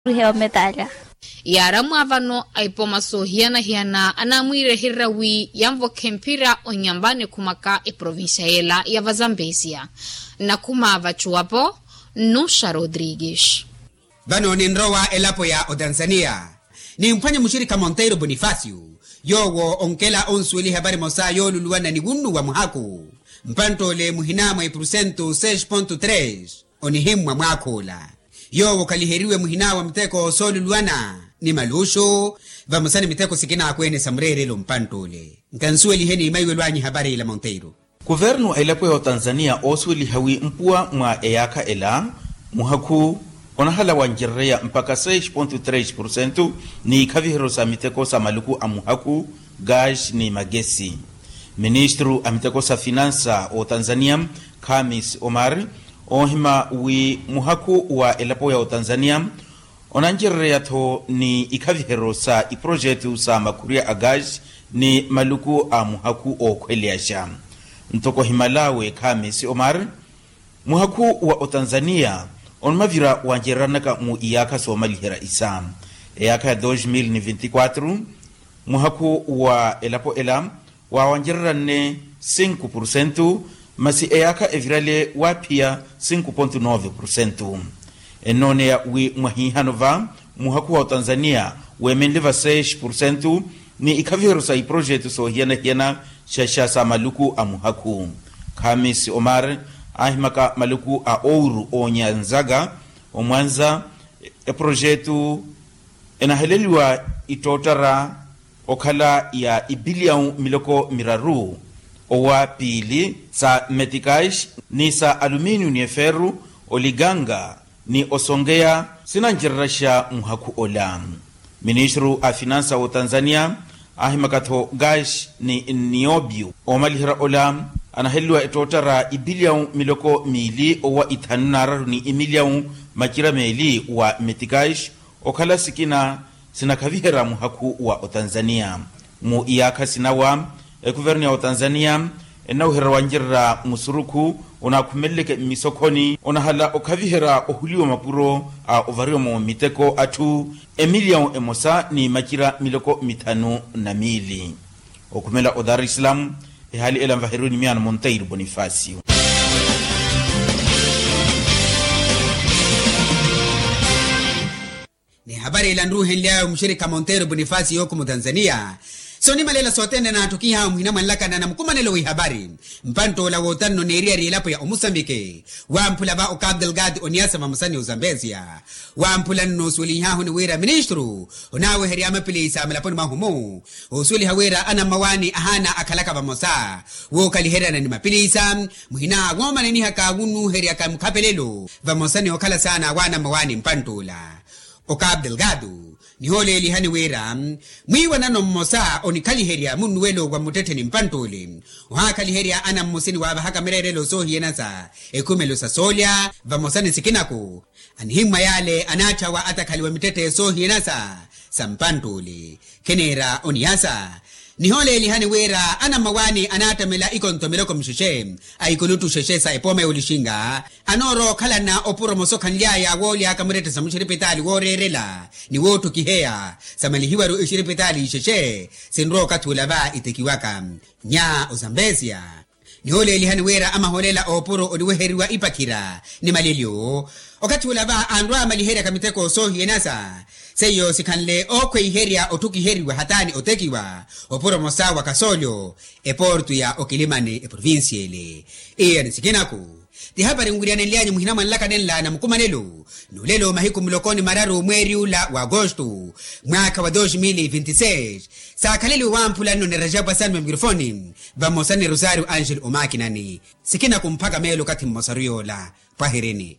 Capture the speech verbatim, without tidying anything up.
Ruhe ometalya. Yaaramwa vano a ipoma soohiyana-hiyana anamwiireherya wi yanvokhe mphira onyamba nikhumaka eprovincia yela ya vazambesia. Nakhuma vacuwapo nnuxa rodrigues. Vano ninrowa elapo ya otanzania, nimphwanye muxirikha monteiro bonifacio, yoowo onkela onsuweliha varimosa yooluluwana ni wunnu wa muhaku. Mpantt'ole muhina mwa ipursentu seis ponto tres onihimmwa mwaakh'ula. Yoowo khaliheriwe muhina wa miteko sooluluwana ni maluxu, vamosa ni miteko sikina akweene sa mureerelo mpantt'ole. Nkansuwelihe ni maiwelo anyu ehapari ila monteiro. Kuvernu a elapo ya otanzania oosuweliha wi mpuwa mwa eyaakha ela, muhakhu onahala wancererya mpakha seis ponto tres porsentu ni ikhaviheryo sa miteko sa maluku a muhakhu, gas ni magesi. Ministru a miteko sa finansa otanzania, khamis omar, oohima wi muhakhu wa elapo ya otanzania onancererya-tho ni ikhaviheryo sa iprojetu sa makhurya a gas ni maluku a muhakhu ookhweleyaxa. Ntoko ohimalawe khamis omar, muhakhu wa otanzania onimavira wancereranaka mu iyaakha soomaliherya isa. Eyaakha ya dos mil ni vinti quatro, muhakhu wa elapo ela waawancereryanne cinco porsentu, masi eyaakha evirale waaphiya cinco ponto nove porsentu. Ennooneya wi mwahiihano va muhakhu wa otanzania weemenle va seis porsentu ni ikhaviheryo sa iprojetu soohiyana-hiyana xaxa sa maluku a muhakhu. Khamis omar aahimaka maluku a ouru oonyanzaka omwanza, eprojetu enaheleliwa ittoottara okhala ya ipiliyawu miloko miraru owa piili sa metikais ni sa aluminiu ni eferu, oliganga ni osonkeya sinancereryaxa muhakhu ola. Ministru a finansa w'otanzania aahimaka-tho gas ni niobiu oomaliherya ola anaheleliwa ettoottara ipiliyawu miloko miili owa ithanu n'araru ni imiliyawu macira meeli wa metikais, okhala sikina sinakhaviherya muhakhu wa otanzania. Mu iyaakha sinawa ekuvernu ya otanzania ennawuhererya wancererya musurukhu onaakhumeleleke mmisokhoni onahala okhaviherya ohuliwa mapuro a ovariwa-mo miteko atthu emiliyawu emosa ni macira miloko mithanu na miili. Okhumela o dar es salaam, ehaali ela nvaheriwe ni miyaano monteiro bonifacio. Ni ehapari ila nruuhenly'awe muxirikha monteiro bonifacio yookhuma otanzania, soonimalela sothene naatthukihawe muhina mwa nlakana na mukumanelo w'ihapari. Mpantt'ola wootanno neeriyari elapo ya omusambiki wamphula va o cabo delgado oniyasa vamosa ni ozambesia. Wamphula nno osuwelihahu ni wira ministru onaaweherya mapilisa mulaponi mwahu-mu, oosuweliha wira anammawaani ahaana akhalaka vamosa wookhaliheryana ni mapilisa muhina woomanenihaka wunnuuheryaka mukhapelelo vamosa ni okhala saana waanammawaani mpantt'ula. O cabo delgado nihooleelihani wira mwiiwanano mmosa onikhaliherya munnuwelo wa mmuttettheni mpantt'ule ohaakhaliherya anammusi ni waavahaka mireerelo soohiyanasa ekhumelo sa soolya vamosa ni sikinaku. Anihimmwa yaale anaatthawa atakhaliwa mittetthe soohiyanasa sa mpantt'ule. Khiniira oniyasa nihooleelihani wira anammawaani anaattamela ikonto miloko mixexe a ikuluttu xexe sa epooma yoolixinga anoorowa okhalana opuro mosokhanly'aya wooly'aka muttetthe sa muxiripitaali wooreerela ni woottukiheya samalihiwaru ixiripitaali ixexe sinrowa okathi ula va itekiwaka. Nya ozambesia nihooleelihani wira amahoolela oopuro oniweheriwa ipakhira ni malilyo okathi ula va anrwa amaliheryaka miteko soohiyanasa seiyo sikhanle ookhweiherya otthukiheriwa hataani otekiwa opuro mosa wa kasoolyo eportu ya okilimani eprovincia ele. Iya ni sikinaku ti hapari nwiriyanenly'anyu muhina mwa nlaka nenla na mukumanelo n'ulelo mahiku muloko ni mararu mweeri ula wa agosto mwaakha wa dos mil vinti seis saakhaleliwe wamphula nno ni rajapu asanwe mikrofoni vamosa ni rosario angel omakinani. Sikinaku mphaka meelo okathi mmosaru yoola pwahirini.